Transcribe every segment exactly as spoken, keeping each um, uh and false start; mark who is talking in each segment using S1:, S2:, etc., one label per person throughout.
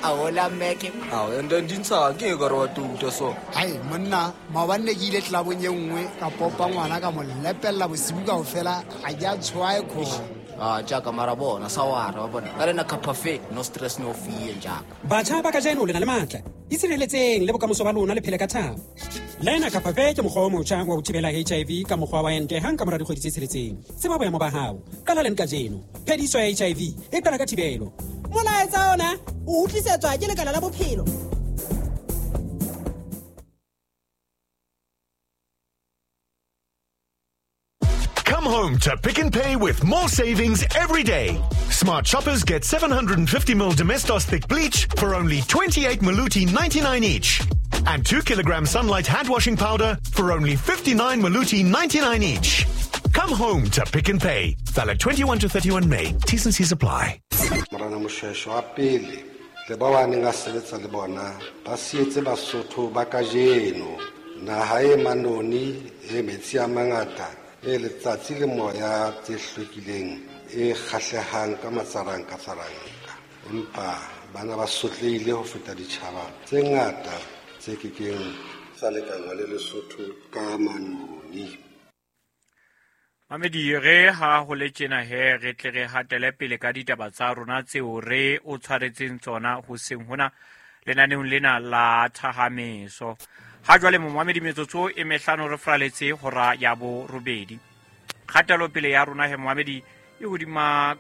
S1: A hola meke.
S2: Ao, and then dintsha ke e ka re wa tuta so.
S3: Hai monna, maobane ne ke ile clubong e nngwe ka popa ngwana ka mo lepella bosibu kaofela, ha ke a tshwae khona.
S1: Ah, jaaka mara bona sa wara wa bona. Ka lena cafe, no stress no fear jaaka.
S4: Batjha ba kajeno le na le matla. Itshireletseng le bokamoso ba lona le phele ka thabo. Lena Capafe ke mokgwa o motjha wa ho thibela H I V ka mokgwa wa ente hang ka mora dikgwedi tse tsheletseng. Tseba boemo ba hao. Qala leng kajeno. Phediso ya H I V e qala ka thibelo.
S5: Molaetsa ona o utlwisetswa ke Lekala la Bophelo.
S6: Come home to Pick n Pay with more savings every day. Smart shoppers get seven hundred fifty milliliters Domestos thick bleach for only twenty-eight Maluti ninety-nine each. And two kilogram Sunlight hand washing powder for only fifty-nine Maluti ninety-nine each. Come home to Pick n Pay. Valid twenty-one to thirty-one May. T's and C's apply.
S7: Morena Moshoeshoe wa pele le ba ba neng a sebetsa le bona ba sietse Basotho ba kajeno naha e manoni e metsi a mangata e letsatsi le moya tse hlwekileng e kgahlehang ka matsaranka tsaranka, empa bana ba sotlehile ho feta ditjhaba tse ngata tse kekeng tsa lekanngwa le Lesotho ka manoni.
S8: Mamedi re ha ho le tjena he re tle re hatele pele ka ditaba tsa rona tseo re o tshwaretseng tsona hoseng hona lenaneong lena la Thahameso. Ha jwale momamedi metsotso e mehlano re fraletse hora ya borobedi. Kgatelo pele ya rona he momamedi e hodima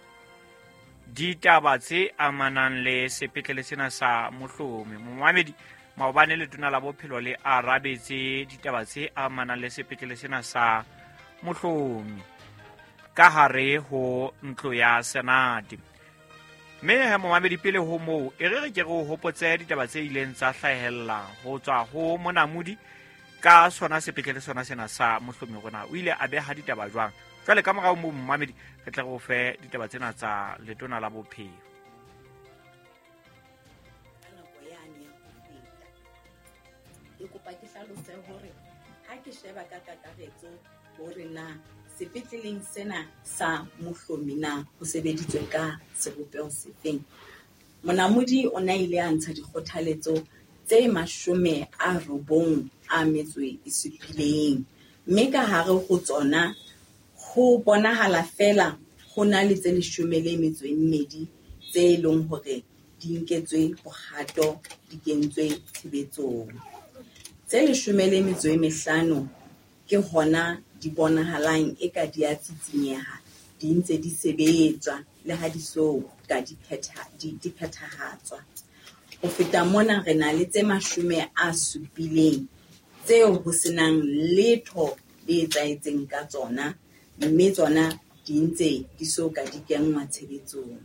S8: ditaba tse amanang le sepetlele sena sa Mohlomi. Momamedi maobane letona la bophelo le arabetse ditaba tse amanang le sepetlele sena sa Mohlomi ka hare ho ntlo ya Senate. Mme he momamedi pele ho moo e re re ke re o hopotse ditaba tse ileng tsa hlahella ho tswa ho monamodi ka sona sepetlele sona sena sa Mohlomi rona o ile a beha ditaba jwang. Jwale ka morao moo momamedi re tle re o fe ditaba tsena tsa letona la bophelo.
S9: Ka nako yane ya ho feta ke kopa ke hlalose hore ha ke sheba ka kakaretso hore na sepetleleng sena sa Mohlomi na ho sebeditswe ka sebopeho sefeng. Monamodi o na ile a ntsha dikgothaletso tse mashome a robong a metso e supileng, mme ka hare ho tsona ho bonahala feela ho na le tse leshome le metso e mmedi tse leng hore di nketswe bohato, di kentswe tshebetsong. Tse leshome le metso e mehlano ke hona di bonahalang eka di a tsitsinyeha, di ntse di sebetswa le ha di so ka di phetha di di phethahatswa. Ho feta mona re na le tse mashome a supileng tseo ho senang letho le etsahetseng ka tsona, mme tsona di ntse di so ka di kenngwa tshebetsong.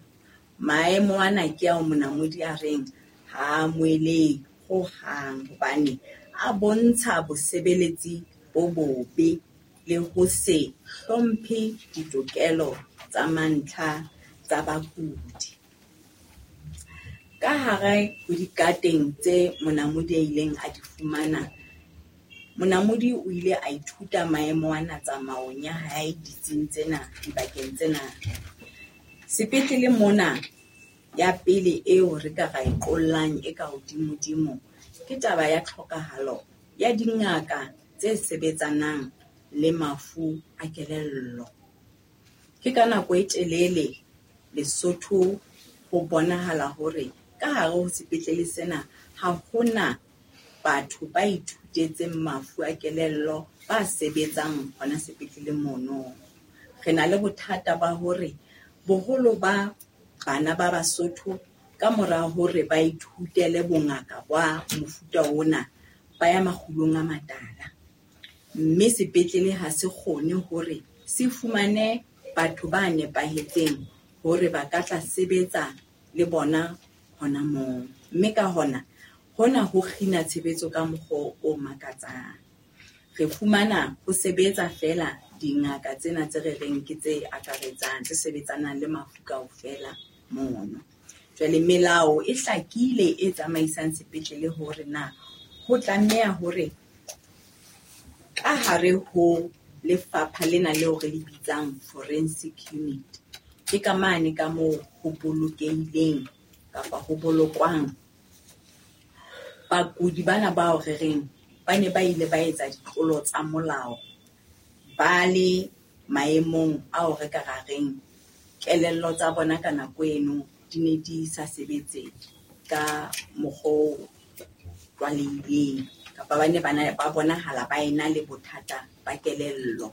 S9: Maemo ana ke ao monamodi a reng ha a amohelehe hohang hobane a bontsha bosebeletsi bo bobe le ho se hlomphe ditokelo tsa mantlha tsa bakudi. Ka hare ho dikateng tse monamodi a ileng a di fumana, monamodi o ile a ithuta maemo ana tsamaong ya hae ditsing tsena, dibakeng tsena. Sepetlele mona ya pele eo re ka ra e qollang e ka hodimodimo ke taba ya tlhokahalo ya dingaka tse sebetsanang le mafu a kelello. Ke ka nako e telele Lesotho ho bonahala hore ka hare ho sepetlele sena ha hona batho ba ithutetseng mafu a kelello ba sebetsang hona sepetlele mono. Re na le bothata ba hore boholo ba bana ba Basotho ka mora hore ba ithutele bongaka ba mofuta ona ba ya makgulong a matala, mme sepetlele ha se kgone hore se fumane batho ba nepahetseng hore ba ka tla sebetsa le bona hona moo. Mme ka hona hona ho kgina tshebetso ka mokgwa o makatsang. Re fumana ho sebetsa feela dingaka tsena tse re reng ke tse akaretsang, tse sebetsanang le mafu kaofela mono. Jwale melao e hlakile e tsamaisang sepetlele hore na ho tlameha hore ka hare ho lefapha lena leo re le bitsang forensic unit, ke ka mane ka moo ho bolokehileng kapa ho bolokwang Bakudi bana bao re reng ba ne ba ile ba etsa ditlolo tsa molao ba le maemong ao re ka ra reng kelello tsa bona ka nako eno di ne di sa sebetse ka mokgwa o tlwaelehileng, kapa ba ne ba ba bonahala ba ena le bothata ba kelello.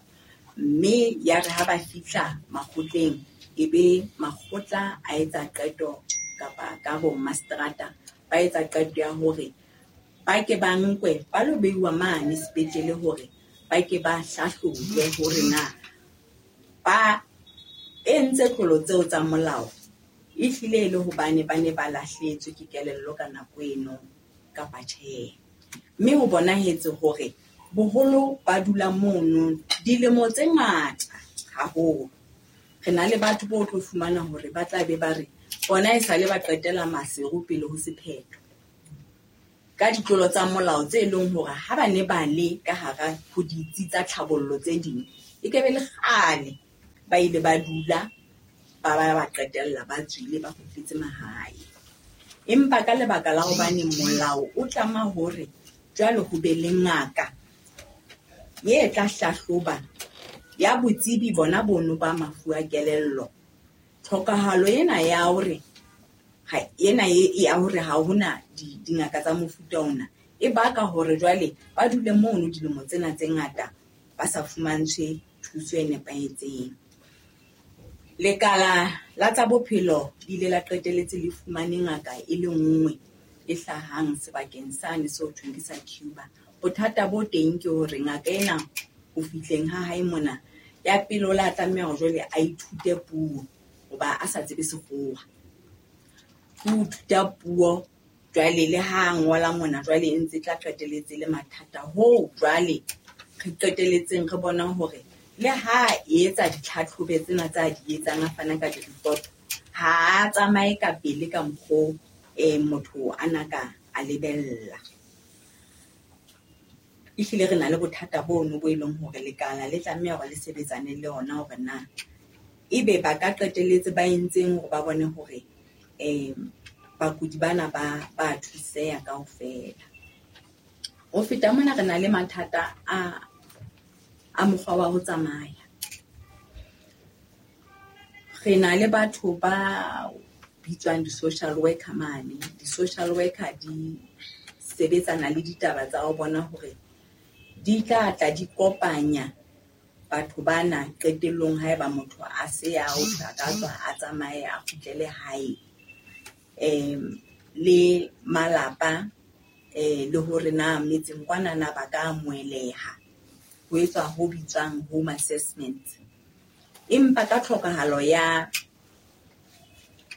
S9: Mme ya re ha ba fihla makgotleng, ebe makgotla a etsa qeto kapa ka bo mastrata ba etsa qeto ya hore ba ke ba nkwe ba lo beiwa mane sepetlele hore ba ke ba hlahlojwe hore na ba entse tlolo tseo tsa molao ehlile e le hobane ba ne ba lahlehetswe ke kelello ka nako eno kapa tjhe. Mme ho bonahetse hore boholo ba dula mono dilemo tse ngata haholo. Re na le batho bo tlo fumana hore ba tla be ba re bona esale ba qetela Maseru pele ho sephetho ka ditlolo tsa molao tse leng hore ha ba ne ba le ka hara ho ditsi tsa tlhabollo tse ding, e ke be le kgale ba ile ba dula ba ba ba qetella ba tswile ba kgutletse mahae. Empa ka lebaka la hobane molao o tlama hore jwale ho be le ngaka ye tla hlahloba ya botsebi bona bono ba mafu a kelello, tlhokahalo ena ya hore ha ena ya hore ha hona dingaka tsa mofuta ona e baka hore jwale ba dule mono dilemo tsena tse ngata ba sa fumantshwe thuso e nepahetseng. Lekala la tsa bophelo le ile la qetelletse le fumane ngaka e le nngwe e hlahang sebakeng sane seo thweng ke sa Cuba. Bothata bo teng ke hore ngaka ena ho fihleng ha hae mona, ya pele o la tlameha hore jwale a ithute puo hoba a sa tsebe sekgowa. Ho ithuta puo jwale le ha ngola mona jwale e ntse tla qetelletse le mathata hoo jwale re qetelletseng re bona hore le ha etsa ditlhatlhobe tsena tsa di etsang a fana ka di-report, ha a tsamaye ka pele ka mokgo eh motho a na ka a lebella. Ehlile re na le bothata bono bo e leng hore lekala le tlameha hore le sebetsane le ona hore na ebe ba ka qetelletse ba entseng hore ba bone hore eh bakudi bana ba ba thuseha kaofela. Ho feta mona re na le mathata a a mokgwa wa ho tsamaya. Re na le batho ba bitswang di-social worker mane. Di-social worker di sebetsana le ditaba tsa ho bona hore di tla tla di kopanya batho bana qetellong haeba motho a se a o ka tswa a tsamaye a kgutlele hae, um le malapa eh le hore na metseng kwana na ba ka amoheleha, ho etswa ho bitswang home assessment. Empa ka tlhokahalo ya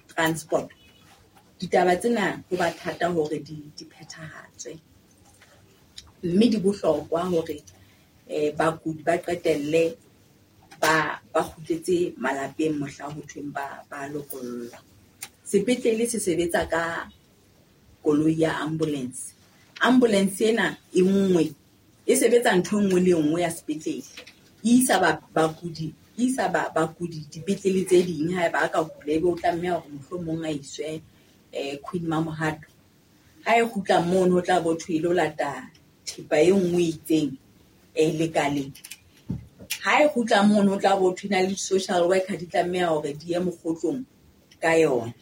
S9: transport, ditaba tsena ho ba thata hore di di phethahatswe, mme di bohlokwa hore eh bakudi ba qetelle ba ba kgutletse malapeng mohla ho thweng ba ba lokollwa. Sepetlele se sebetsa ka koloi ya ambulance. Ambulance ena e nngwe e sebetsa ntho e nngwe le nngwe ya sepetlele, e isa ba bakudi e isa ba bakudi dipetlele tse ding. Haeba a ka kula ebe o tlameha hore mohlomong a iswe eh Queen Mamohato, ha e kgutla mono ho tla bo thwe e lo lata thepa e nngwe e itseng eh lekaleng. Ha e kgutla mono ho tla bo thwe na le social worker di tlameha hore di ye mokgotlong ka yona.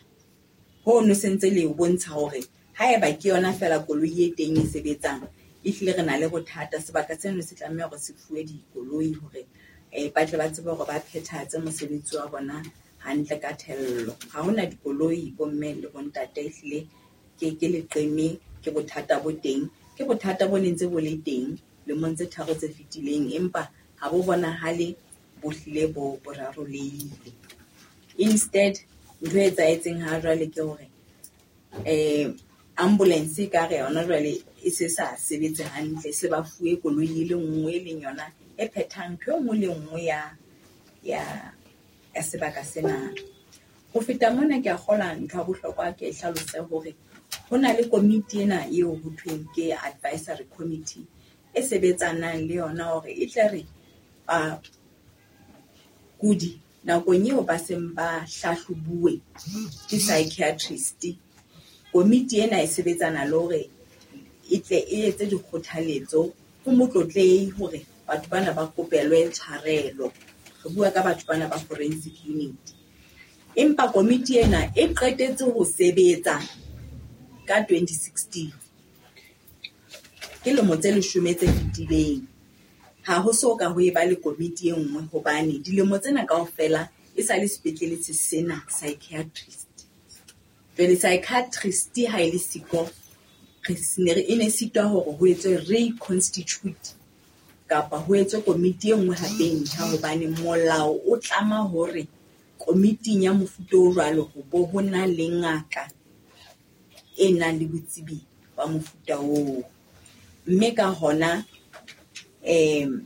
S9: Hono se ntse le bontsha hore haeba ke yona feela koloi e teng e sebetsang, ehlile re na le bothata. Sebaka seno se tlameha hore se fuwe dikoloi hore eh ba tle ba tsebe hore ba phethahatse mosebetsi wa bona hantle ka thello. Ha hona dikoloi bomme le bontate, ehlile ke ke leqeme, ke bothata bo teng, ke bothata bo nentse bo le teng lemong tse tharo tse fetileng, empa ha bo bonahale bo hlile bo bo rarolehile. Instead ntho e etsahetseng ha jwale ke hore eh ambulance e ka re yona jwale e se sa sebetse hantle, se ba fuwe koloi e le nngwe e leng yona e phethang ntho e nngwe le nngwe ya ya ya sebaka sena. Ho feta mona ke a kgolwa ntho ya bohlokwa ke e hlalose hore ho na le komiti ena eo ho thweng ke advisory committee e sebetsanang le yona hore e tle re bakudi nakong eo ba seng ba hlahlobuwe ke psychiatrist, komiti ena e sebetsana le hore e tle e etse dikgothaletso ho motlotlehi hore batho bana ba kopelwe tshwarelo. Re bua ka batho bana ba forensic unit. Empa komiti ena e qetetse ho sebetsa ka twenty sixteen. Ke lemo tse leshome tse fetileng. Ha ho so ka ho eba le komiti e nngwe hobane dilemo tsena kaofela e sa le sepetlele se sena psychiatrist. Jwale psychiatrist ha e le siko, re ne re e ne sitwa hore ho etswe reconstitute kapa ho etswe komiti e nngwe hape e ntjha hobane molao o tlama hore komiting ya mofuta o jwalo ho bo ho na le ngaka e nang le botsebi ba mofuta oo. Mme ka hona em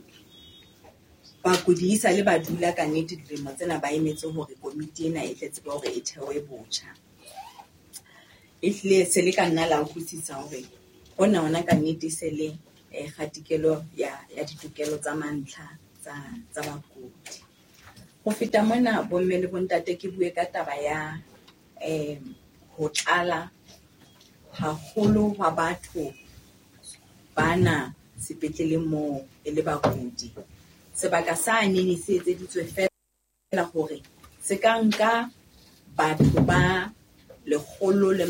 S9: bakudi e sale ba dula ka nnete dilemo tsena ba emetse hore komiti ena e tle tsebe hore e thewe botjha. Ehlile se le ka nna la utlwisisa hore hona hona ka nnete se le eh, kgatikelo ya ya ditokelo tsa mantlha tsa tsa bakudi. Ho feta mona bomme le bontate ke bue ka taba ya em ho tlala haholo hwa batho bana sepetleleng moo e le bakudi. Sebaka sa nene se etseditswe feela hore se ka nka batho ba lekgolo le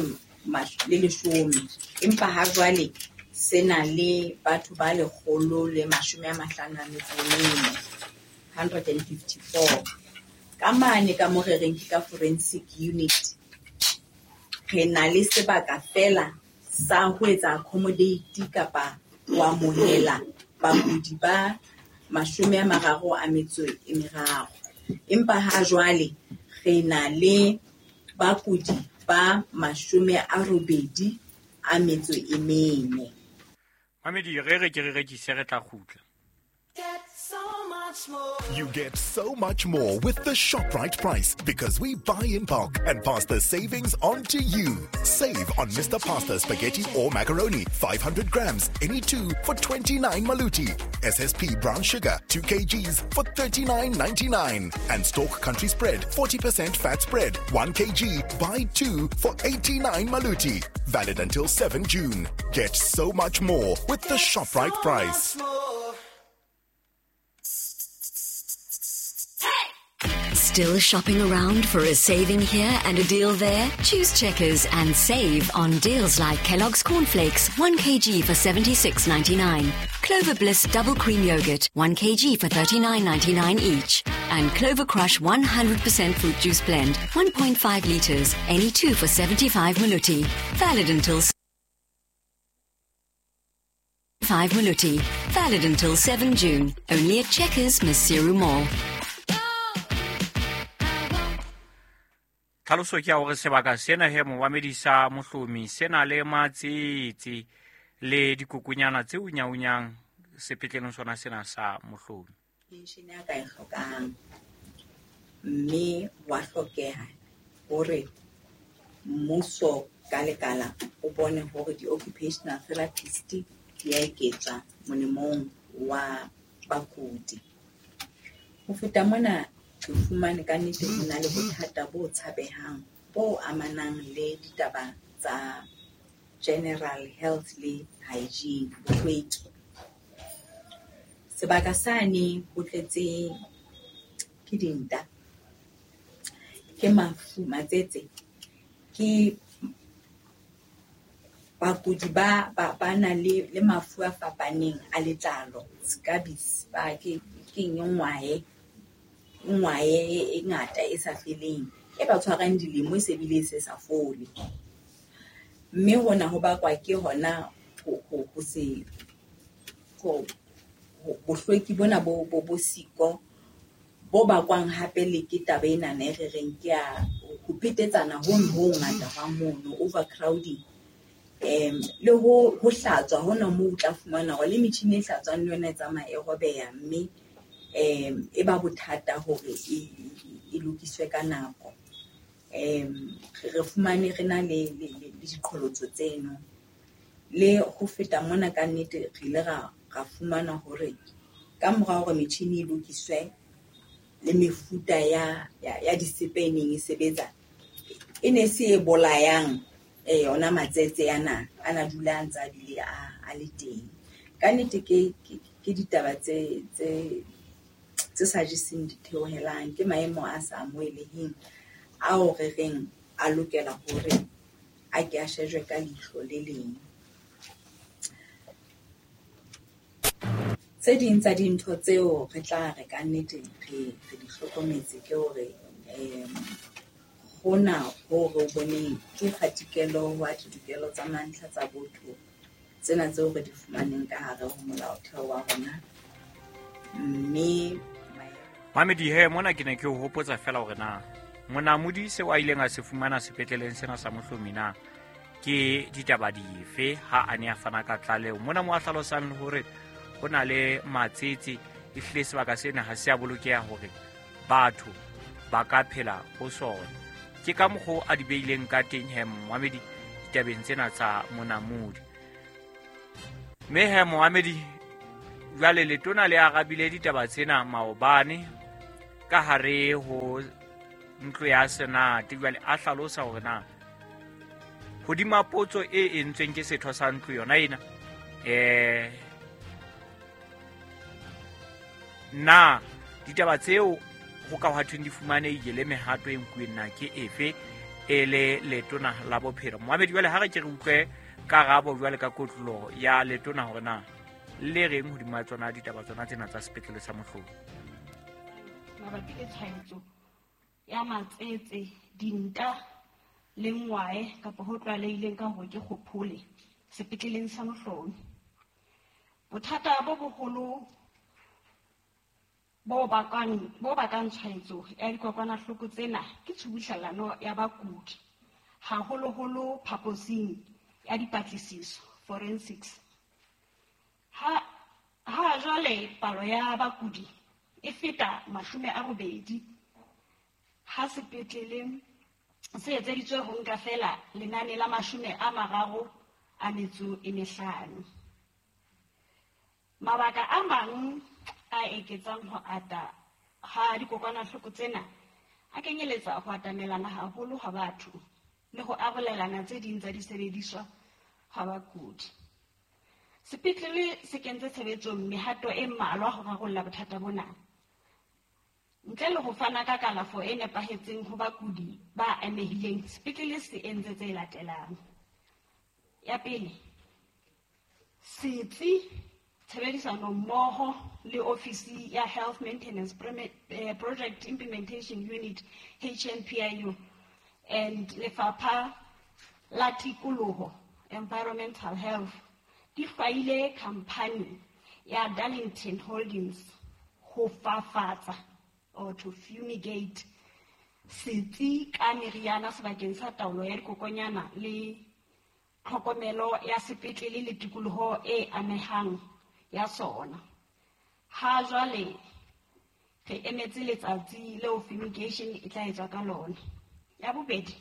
S9: le leshome, empa ha jwale se na le batho ba lekgolo le mashome a mahlano a metso e mene, hundred and fifty-four. Ka mane ka mo re reng ke ka forensic unit, re na le sebaka feela sa ho etsa accommodate kapa ho amohela bakudi ba mashome a mararo a metso e meraro. Empa ha jwale re na le bakudi ba mashome a robedi a metso e mene.
S8: Mamedi, re re ke re rekise re tla kgutla.
S6: You get so much more with the ShopRite price because we buy in bulk and pass the savings on to you. Save on Mister Pasta Spaghetti or Macaroni, five hundred grams, any two for twenty-nine maluti. S S P brown sugar, two kilograms for thirty-nine ninety-nine. And Stork Country Spread, forty percent fat spread, one kilogram, buy two for eighty-nine maluti. Valid until seventh June. Get so much more with the ShopRite price.
S10: Still shopping around for a saving here and a deal there? Choose Checkers and save on deals like Kellogg's Cornflakes, one kilogram for seventy-six ninety-nine, Clover Bliss Double Cream Yogurt, one kilogram for thirty-nine ninety-nine each, and Clover Crush one hundred percent Fruit Juice Blend, one point five litres, any two for seventy-five maluti. Valid until five maluti. Valid until seventh June. Only at Checkers, Maseru Mall.
S8: Tlhaloso ke ya hore sebaka sena he momamedi sa Mohlomi se na le matsetse le dikokonyana tse unyaunyang sepetleleng sona sena sa Mohlomi.
S9: Pension ya ka e hlokang, mme wa hlokeha hore mmuso ka lekala o bone hore di-occupational therapist di a eketswa molemong wa bakudi. Ho feta mona re fumane ka nnete ho na le bothata bo tshabehang bo amanang le ditaba tsa general health le hygiene, bohlweki. Sebaka sane ho tletse ke dinta, ke mafu, matsetse, ke bakudi ba ba ba na le le mafu a fapaneng a letlalo, scabies, ba ke ke ngwae ngwae e ngata e sa feleng e ba tshwarang dilemo e se bile se sa fole. Mme hona ho bakwa ke hona ho ho ho se ho bohlweki bona bo bo bo siko bo bakwang hape le ke taba ena e re reng ke ya ho phetetsana ho ho ngata hwa mono, overcrowding, em le ho ho hlatswa hona moo o tla fumana hore le metjhini e hlatswang le yona e tsamaya e robeha, mme em e ba bothata hore e e lokiswe ka nako. Em re fumane re na le le diqholotso tseno. Le ho feta mona ka nnete re ile ra ra fumana hore ka mora hore metjhini e lokiswe le mefuta ya ya, ya disepe e neng e sebetsa e ne se e bolayang eh yona matsetse ana ana dula a ntse a bile a a le teng. Ka nnete ke ke ditaba tse tse tse sa jeseng ditheohelang, ke maemo a sa amoheleheng ao re reng a lokela hore a ke a shejwe ka leihlo le leng. Tse ding tsa dintho tseo re tla re ka nnete re re di hlokometse ke hore um hona ho re o boneng ke kgatikelo wa ditokelo tsa mantlha tsa botho tsena tseo re di fumaneng ka hare ho molaotheo wa rona. Mme
S8: Mamedi he mona ke ne ke o hopotsa fela hore na monamodi seo a ileng a se fumana sepetleleng sena sa Mohlomi na ke ditaba dife ha a ne a fana ka tlaleho. Mona mo a hlalosang hore ho na le matsetse, ehlile sebaka sena ha se a bolokeha hore batho ba ka phela ho sona. Ke ka mokgwa a di beileng ka teng he Mohamedi ditabeng tsena tsa monamodi. Mme he Mohamedi jwale letona le arabile ditaba tsena maobane ka hare ho ntlo ya Senate. Jwale a hlalosa hore na hodima potso e entsweng ke setho sa ntlo yona ena eh na ditaba tseo ho ka hwa thweng di fumanehile le mehato e nkuweng na ke efe e le letona la bophelo. Mohamedi jwale ha re ke re utlwe karabo jwale ka kotloloho ya letona hore na le reng hodima tsona ditaba tsona tsena tsa sepetlele sa Mohlomi.
S11: Mabapi le tshwaetso ya matsetse, dinta le ngwae kapa ho tlwaelehileng ka hore ke kgophole sepetleleng sa Mohlomi. Bothata bo boholo bo bakang bo bakang tshwaetso ya dikokwanahloko tsena ke tshubuhlellano ya bakudi, haholoholo phaposing ya dipatlisiso forensics. Ha ha jwale palo ya bakudi e feta mashome a robedi ha sepetlele se etseditswe ho nka fela lenane la mashome a mararo a metso e mehlano. Mabaka a mang a eketsang ho ata ha dikokwanahloko tsena a kenyeletsa ho atamelana haholo ha batho le ho arolelana tse ding tsa disebediswa ha bakudi. Sepetlele se kentse tshebetsong mehato e mmalwa ho rarolla bothata bona. Ntle le ho fana ka kalafo e nepahetseng ho bakudi ba amehileng, sepetlele se entse tse latelang. Ya pele, setsi tshebedisano mmoho le ofisi ya Health Maintenance Project Implementation Unit H M P I U and Lefapha la Tikoloho Environmental Health di hlwaile khampani ya Darlington Holdings ho fafatsa or to fumigate setsi ka meriana sebakeng sa taolo ya dikokonyana le tlhokomelo ya sepetlele le tikoloho e amehang ya sona. Ha jwale re emetse letsatsi leo fumigation e tla etswa ka lona. Ya bobedi,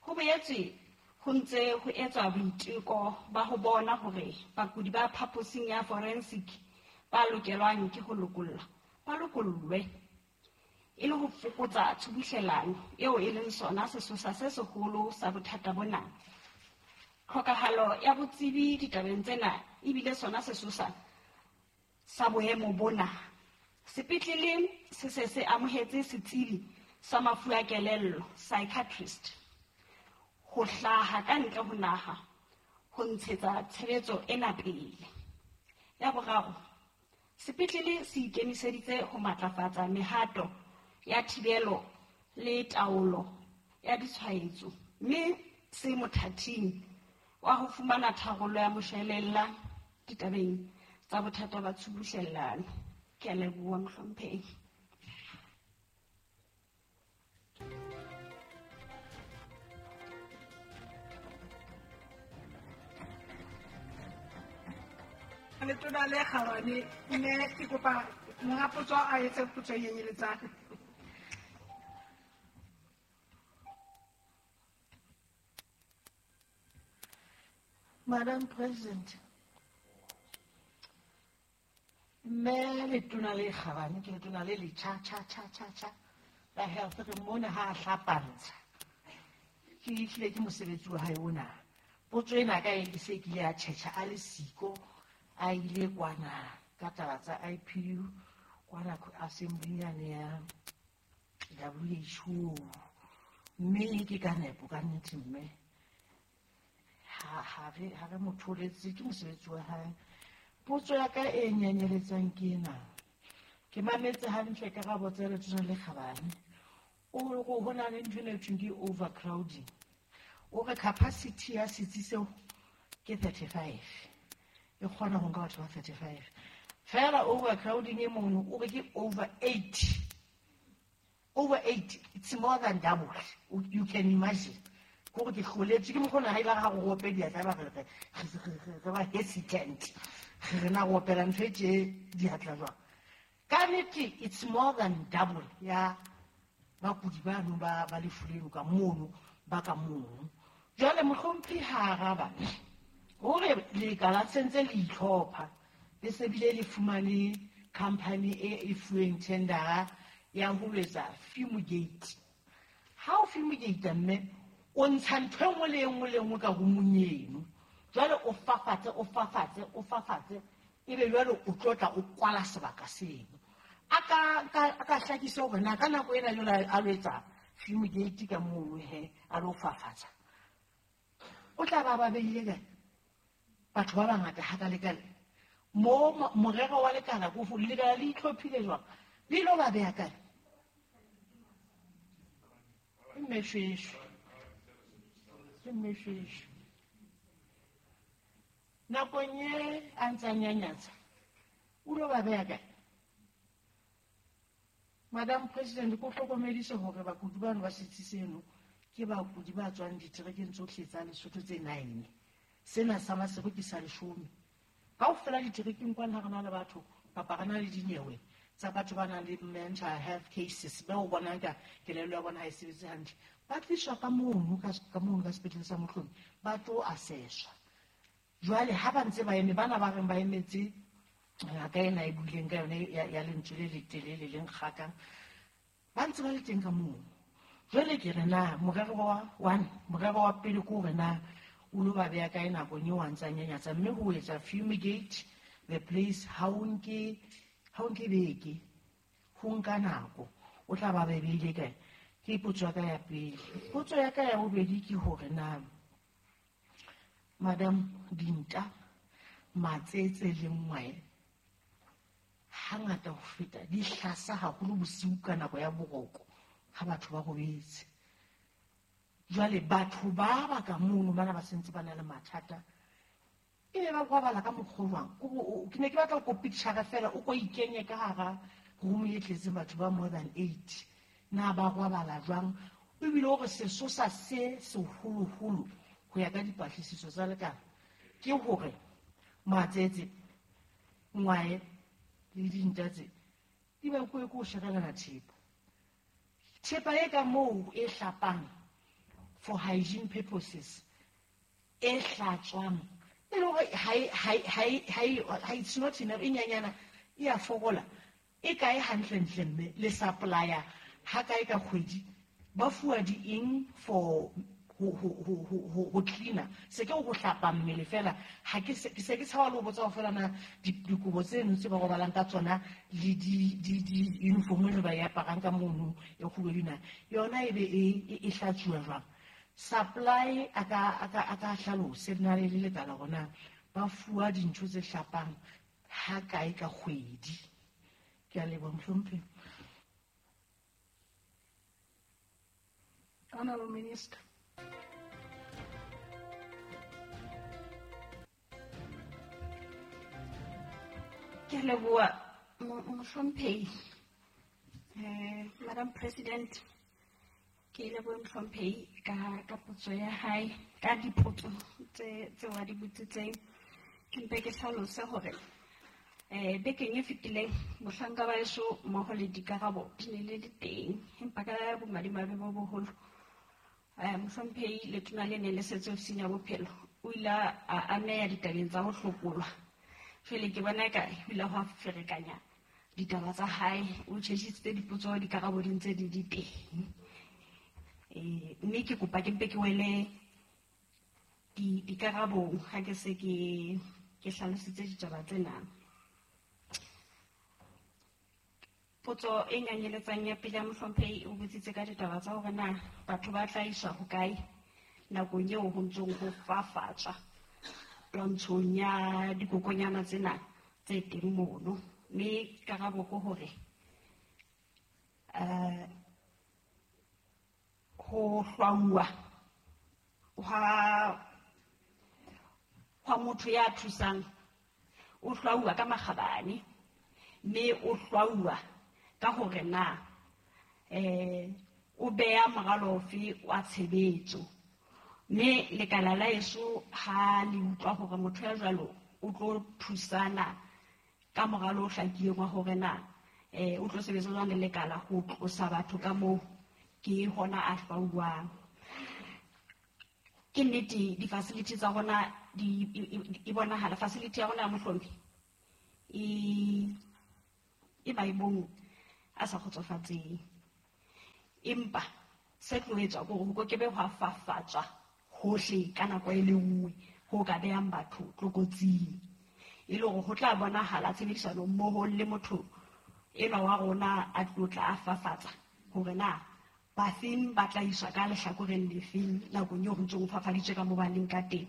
S11: ho boetse ho ntse ho etswa boiteko ba ho bona hore bakudi ba phaposing ya forensic ba lokelwang ke ho lokollwa ba lokollwe e le ho fokotsa tshubuhlellano eo e leng sona sesosa se seholo sa bothata bona. Tlhokahalo ya botsebi ditabeng tsena ebile sona sesosa sa boemo bona. Sepetlele se se se amohetse setsebi sa mafu a kelello, psychiatrist, ho hlaha ka ntle ho naha ho ntshetsa tshebetso ena pele. Ya boraro, sepetlele se ikemiseditse ho matlafatsa mehato ya thibelo le taolo ya ditshwaetso, mme se mothating wa ho fumana tharollo ya moshwelella ditabeng tsa bothata ba tshubuhlellano. Ke a leboha mohlomphehi.
S12: Letona le kgabane, mme ke kopa monga potso a etse potso e nyenyeletsang.
S13: Madam President, mme letona le kgabane ke letona le letjha tjha tjha tjha tjha la health re mona ha a hlapantsha. ke hlile ke mosebetsi wa hae ona. Potso ena ka e se kile ya tjhetjha a le siko a ile kwana ka taba tsa I P U kwana assembly yane ya W H O. Mme ke ka nepo ka nnete mme ha ha re ha re mo tholetse ke mosebetsi wa hae. Potso ya ka e nyenyeletsang ke ena. Ke mametse hantle karabo tsa Letona le Kgabane. O re ho na le ntho e thweng ke overcrowding. O re capacity ya setsi seo ke thirty-five. E kgona ho nka batho ba thirty-five. Fela overcrowding e mono o re ke over eight. Over eight, it's more than double. You can imagine. Ko ke hloletse ke mokgona ha ile ga go ope diatla ba re re ba hesitant. Re na go opela ntho e tje diatla jwang. Ka nnete it's more than double ya bakudi bano ba ba lefu leno ka mono ba ka mono. Jwale mohlomphehi ha araba hore lekala sentse le itlhopha le se bile le fumane company e e fuweng tendera ya ho etsa fumigate. Ha o fumigate mme o ntsha ntho e nngwe le e nngwe le nngwe ka roomong eno. Jwale o fafatse o fafatse o fafatse ebe jwale o tlotla o kwala sebaka seno. A ka a ka hlakisa hore na ka nako ena jwale a lo etsa fumigate ka mono he a lo fafatsa. O tla ba ba beile kae? Batho ba bangata ha ka lekala. Mo morero wa lekala ko lekala le itlhophile jwang? Le ilo ba beha kae? Mmeshweshwe. Mmeshweshwe. Nakong e a ntsa nyanyatsa o lo ba beha kae? Madam President, ko hlokomedise hore bakudi bano ba setsi seno ke bakudi ba tswang diterekeng tsohle tsa Lesotho tse nine. Sena sa Maseru ke sa leshome. Kaofela diterekeng kwana ha re na le batho kapa re na le dinyewe tsa batho ba nang le mental health cases ba o bonang ka kelello ya bona ha e sebetse hantle. Ba tliswa ka mono ka ka mono ka sepetlele sa Mohlomi ba tlo assesswa. Jwale ha ba ntse ba eme bana ba reng ba emetse ngaka ena e buileng ka yone ya lentswe le letelele le nkgakang ba ntse ba le teng ka mono. Jwale ke re na morero wa one morero wa pele ke hore na o lo ba beha kae nakong eo a ntsa nyanyatsa mme ho etsa fumigate the place ha o nke ha o nke beke ho nka nako o tla ba beile kae. Ke potso ya ka ya pele. Potso ya ka ya bobedi ke hore na Madam dinta matsetse le ngwae hangata ho feta di hlasa haholo bosiu ka nako ya boroko ha batho ba robetse. Jwale batho ba ba ka mono bana ba sentse ba na le mathata ebe ba kwabala ka mokgwa jwang? Ke ne ke batla go picture fela o ko ikenye ka hara room e tletseng batho ba more than eight. Na ba kwabala jwang? Ebile hore sesosa se seholoholo ho ya ka dipatlisiso tsa lekala ke hore matsetse ngwae le dinta tse di ba ko ko shekelana thepa. Thepa e ka moo e hlapang for hygiene purposes e hlatswang e le hore ha ha ha ha it's not enough e nyanyana e a fokola e kae hantlentle mme le supplier ha kae ka kgwedi ba fuwa di eng for ho ho ho ho cleaner se ke go hlapa mmele fela ha ke se ke tshaba le ho botsa fela na dikobo tseno tse ba robalang ka tsona le di di di uniform e ba e aparang ka mono e kgubedu na yona e be e e hlatsuwa jwang. Supply a ka a ka a ka hlalose na le lekala rona ba fuwa dintho tse hlapang ha kae ka kgwedi. Ke a leboha mohlomphehi.
S12: Honorable Minister.
S11: Ke a leboha mohlomphehi. Eh Madam President, ke leboha mohlomphehi ka ka potso ya hae ka dipotso tse tse wa di botsitseng. Ke mpe ke hlalose hore eh bekeng e fetileng mohlanka ba eso mmoho le dikarabo di ne le di teng empa ka bomadimabe bo boholo eh mohlomphehi letona le ne le setse ofising ya bophelo o ile a ameha ditabeng tsa ho hlokolwa. Jwale ke bona eka o ile hwa ferekanya ditaba tsa hae, o tjhesitse dipotso dikarabo di ntse di di teng. Eh, mme ke kopa ke mpe ke wele di dikarabong ha ke se ke ke hlalositse ditaba tsena. Potso e nyanyeletsang ya pele ya mohlomphehi o botsitse ka ditaba tsa hore na batho ba tla iswa hokae nakong eo ho ntsong ho fafatswa twantshong ya dikokonyana tsena tse teng mono. Mme karabo ke hore eh ho hlwauwa hwa hwa motho ya thusang o hlwauwa ka makgabane, mme o hlwauwa ka hore na eh o beha moralo ofe wa tshebetso. Mme lekala la heso ha le utlwa hore motho ya jwalo o tlo thusana ka moralo o hlakileng wa hore na eh o tlo sebetsa jwang le lekala ho tlosa batho ka moo, ke hona a hlwauwang. Ke nnete di-facility tsa rona di e bonahala facility ya rona ya Mohlomi e e maemong a sa kgotsofatseng, empa se tlo etswa ke hore ho ke be hwa fafatswa hohle ka nako e le nngwe ho ka behang batho tlokotsing, e le hore ho tla bonahala tshebedisano mmoho le motho enwa wa rona a tlo tla a fafatsa hore na bafeng ba tla iswa ka lehlakoreng lefeng nakong eo ho ntsong ho fafaditswe ka moo ba leng ka teng.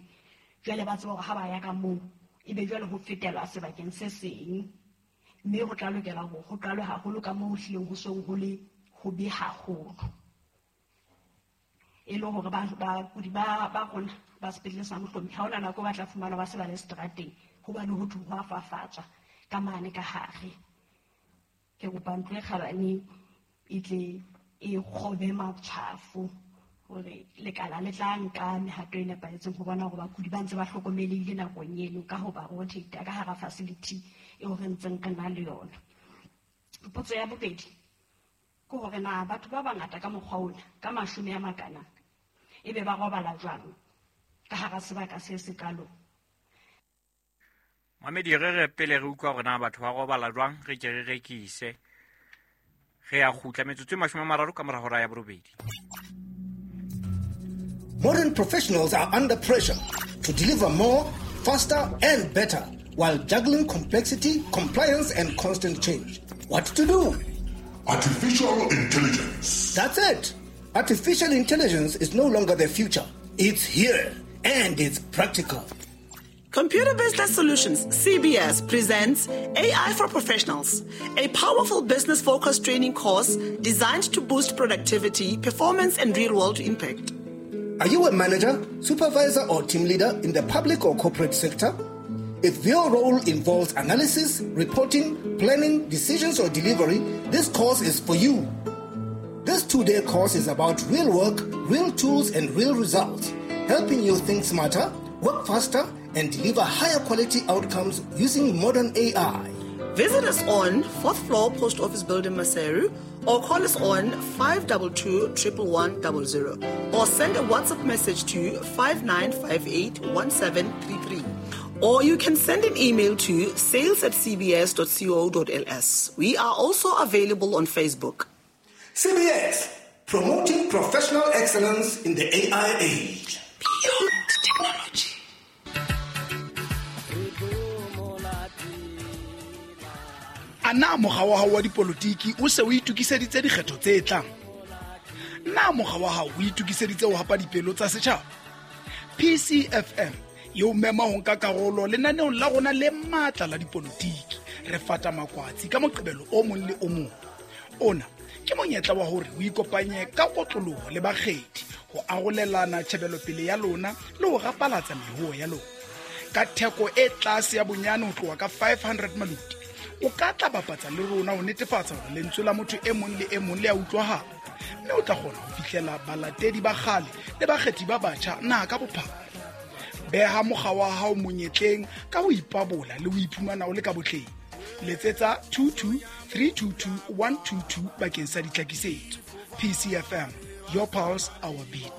S11: Jwale ba tseba hore ha ba ya ka moo ebe jwale ho fetelwa sebakeng se seng, mme ho tla lokela hore ho qalwe haholo ka moo ho hlileng ho seng ho le hobe haholo, e le hore bakudi ba ba rona ba sepetlele sa Mohlomi ha hona nako ba tla fumana ba se ba le seterateng hobane ho thwe ho a fafatswa ka mane ka hare. Ke kopa ntlo e kgabane e tle e kgobe matshwafo hore lekala le tla nka mehato e nepahetseng ho bona hore bakudi ba ntse ba hlokomelehile nakong eno ka ho ba rotate ka hara facility eo re ntseng re na le yona. Potso ya bobedi ke hore na batho ba bangata ka mokgwa ona ka mashome a makana ebe ba robala jwang ka hara sebaka se sekalo.
S8: Mamedi, re re pele re utlwa hore na batho ba robala jwang, re ke re rekise. Re a kgutla metsotso e mashome a mararo ka mora hora ya borobedi.
S14: Modern professionals are under pressure to deliver more, faster and better while juggling complexity, compliance and constant change. What to do?
S15: Artificial intelligence.
S14: That's it. Artificial intelligence is no longer the future. It's here and it's practical.
S16: Computer Business Solutions, C B S, presents A I for Professionals, a powerful business-focused training course designed to boost productivity, performance, and real-world impact.
S14: Are you a manager, supervisor, or team leader in the public or corporate sector? If your role involves analysis, reporting, planning, decisions, or delivery, this course is for you. This two-day course is about real work, real tools, and real results, helping you think smarter, work faster, and deliver higher quality outcomes using modern A I.
S16: Visit us on fourth floor Post Office Building, Maseru, or call us on five two two, one one one zero zero, or send a WhatsApp message to five nine five eight one seven three three. Or you can send an email to sales at c b s dot co dot l s. We are also available on Facebook.
S14: C B S, promoting professional excellence in the A I age.
S16: Beyond technology.
S17: A na mokga wa hao wa dipolotiki o se o itokiseditse dikgetho tse tlang? Na mokga wa hao o itokiseditse ho hapa dipelo tsa setjhaba? P C F M e o mema ho nka karolo lenaneong la rona le matla la dipolotiki. Re fata makwatsi ka Moqebelo o mong le o mong. Ona ke monyetla wa hore o ikopanye ka kotloloho le bakgethi ho arolelana tjhebelopele ya lona le ho rapalatsa mehuo ya lona. Ka theko e tlase ya bonyane ho tloha ka five hundred maluti, o ka tla bapatsa le rona ho netefatsa hore lentswe la motho e mong le e mong le a utlwahala, mme o tla kgona ho fihlela balatedi ba kgale le bakgethi ba batjha naha ka bophara. Beha mokga wa hao monyetleng ka ho ipabola le ho iphumana o le ka botleng. Letsetsa two two three two two one two two bakeng sa ditlhakisetso. P C F M, your pulse, our beat.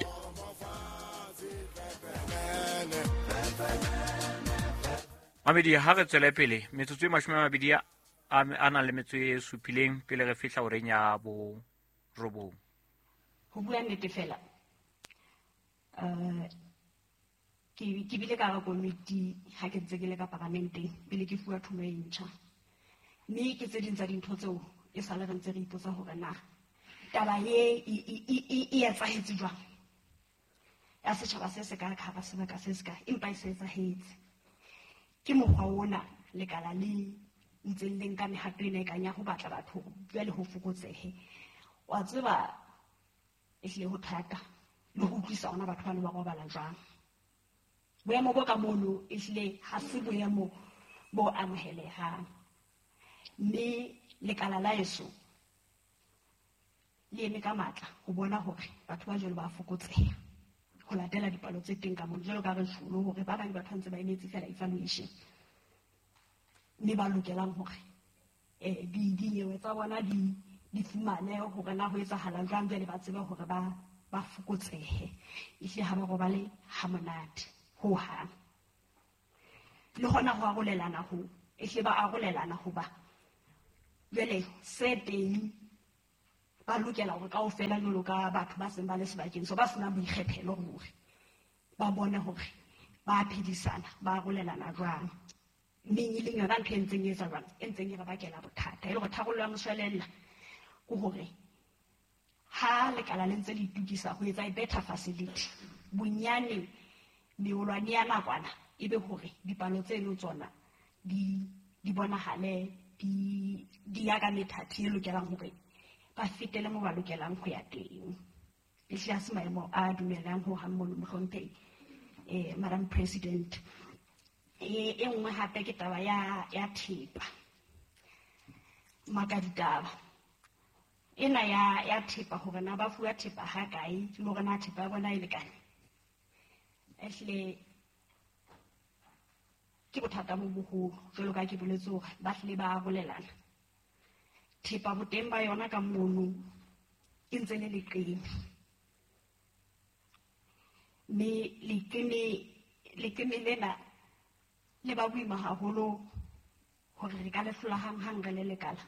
S8: Mamedi, ha re tswele pele metsotso e mashome a mabedi a a nang le metso e supileng pele re fihla horeng ya borobong.
S11: Ho bua nnete fela, uh, ke ke bile ka hara komiti ha ke ntse ke le ka paramenteng pele ke fuwa thumo e ntjha. Mme ke tse ding tsa dintho tseo e sale re ntse re ipotsa hore na taba e e e etsahetse jwang ya setjhaba se se ka ka hara sebaka se se ka, empa e se etsahetse. Ke mokgwa ona lekala le ntseng le nka mehato ena e kang ya ho batla batho jwale ho fokotsehe. Wa tseba ehlile ho thata le ho utlwisa ona batho ba ne ba robala jwang. Boemo bo ka mono ehlile ha se boemo bo amohelehang. Mme lekala la eso le eme ka matla ho bona hore batho ba jwalo ba fokotseha ho latela dipalo tse teng ka mono, jwalo ka re tjholo hore ba bang batho ba ntse ba emetse fela evaluation, mme ba lokelang hore eh di dinyewe tsa bona di di fumane hore na ho etsahala jwang, jwale ba tsebe hore ba ba fokotsehe. Ehlile ha ba robale ha monate ho hang. Le hona ho arolelana ho ehlile ba arolelana hoba jwale se teng ba lokela hore kaofela jwalo ka batho ba seng ba le sebakeng so ba senang boikgethelo hore ba bone hore ba phedisana ba arolelana jwang. Mme e leng yona ntho e ntseng e etsa jwang, e ntseng e re bakela bothata. E le hore tharollo ya moshwelella ke hore ha lekala le ntse le itokisa ho etsa e better facility, bonyane meolwane ya nakwana e be hore dipalo tseno tsona di di bonahale di di ya ka methati e lokelang hore ba fetele mo ba lokelang ho ya teng. Ehlile ha se maemo a dumellang ho hang mono, mohlomphehi eh Madam President. E e nngwe hape ke taba ya ya thepa. Maka ditaba ena ya ya thepa hore na ba fuwa thepa ha kae le hore na thepa ya bona e lekane. Ehlile ke bothata bo boholo jwalo ka ke boletse hore ba hlile ba arolelana thepa, boteng ba yona ka mono e ntse le leqeme, mme leqeme leqeme lena le ba boima haholo hore re ka le hlola hang-hang re le lekala.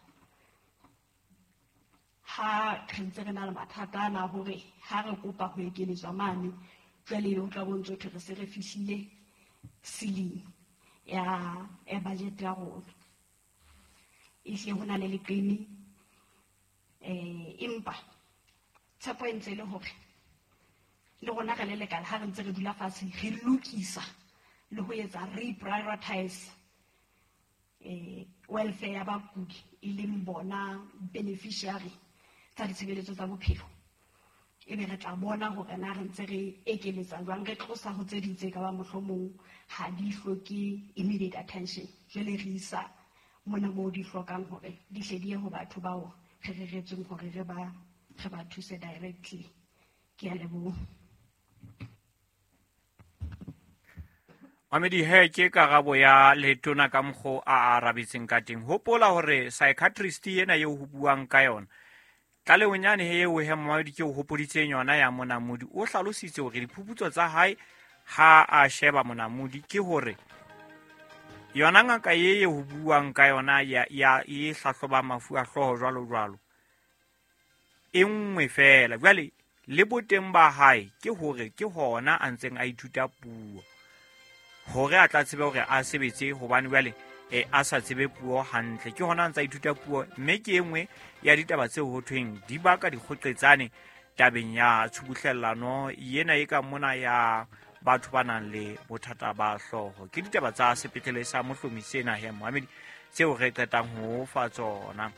S11: Ha re ntse re na le mathata ana hore ha re kopa ho ekeletswa mane, jwale ho tla bontse hore re se re fihlile ceiling ya ya budget ya rona. Ehlile ho na le leqeme, eh empa tshepo e ntse e le hore le rona re le lekala ha re ntse re dula fatshe re lokisa le ho etsa reprioritize eh welfare ya bakudi e leng bona beneficiary tsa ditshebeletso tsa bophelo, ebe re tla bona hore na re ntse re ekeletsa jwang, re tlosa ho tse ding tse ka ba mohlomong ha di hloke immediate attention, jwale re isa mona moo di hlokang hore di hle di ye ho batho bao re reretsweng hore re ba re ba thuse directly. Ke a leboha.
S8: Mamedi, he ke karabo ya letona ka mokgo a arabetseng ka teng. Hopola hore psychiatrist ena eo ho buang ka yona tlalehong yane he eo he Mamedi ke o hopoditseng yona ya Monamodi, o hlalositse hore diphuputso tsa hae ha a sheba Monamodi ke hore yona ngaka ye e ho buang ka yona ya ya e hlahloba mafu a hlooho jwalo jwalo e nngwe fela. Jwale le boteng ba hae ke hore ke hona a ntseng a ithuta puo hore a tla tsebe hore a sebetse, hobane jwale e a sa tsebe puo hantle, ke hona a ntsa ithuta puo. Mme ke e nngwe ya ditaba tseo ho thweng di baka dikgoqetsane tabeng ya tshubuhlellano ena e ka mona ya batho ba nang le bothata ba hlooho. Ke ditaba tsa sepetlele sa Mohlomi sena he Mohamedi tseo re qetang ho fa tsona.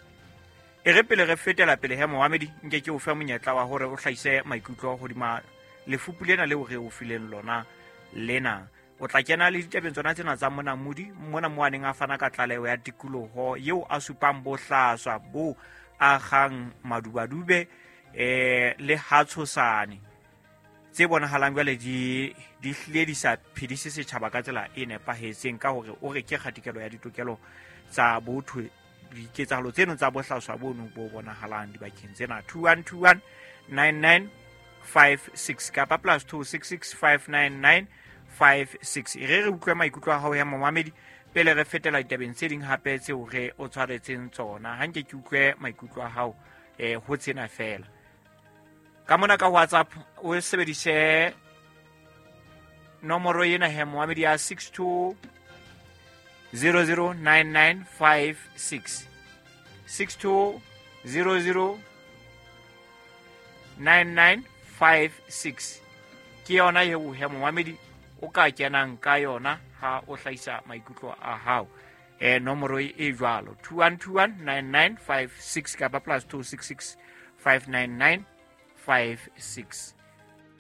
S8: E re pele re fetela pele he Mohamedi, nke ke o fe monyetla wa hore o hlahise maikutlo hodima lefupu lena leo re o fileng lona lena. O tla kena le ditabeng tsona tsena tsa Monamodi mona mo a neng a fana ka tlaleho ya tikoloho eo a supang bohlaswa bo agang madubadube eh le hatshosane tse bonahalang jwale di di hlile di sa phedise setjhaba ka tsela e nepahetseng, ka hore o re ke kgatikelo ya ditokelo tsa botho diketsahalo tseno tsa bohlaswa bono bo bonahalang dibakeng tsena. Two one two one nine nine five six kapa plus two six six five nine nine five six. E re re utlwe maikutlo a hao ya momamedi pele re fetela ditabeng tse ding hape tseo re o tshwaretseng tsona. Ha nke ke utlwe maikutlo a hao eh ho tsena fela. Ka mona ka WhatsApp o sebedise nomoro ena he momamedi ya six two zero zero nine nine five six six two zero zero nine nine five six ke yona eo he momamedi o ka kenang ka yona ha o hlahisa maikutlo a hao. Eh nomoro e jwalo two one two one nine nine five six kapa plus two six six five nine nine five six.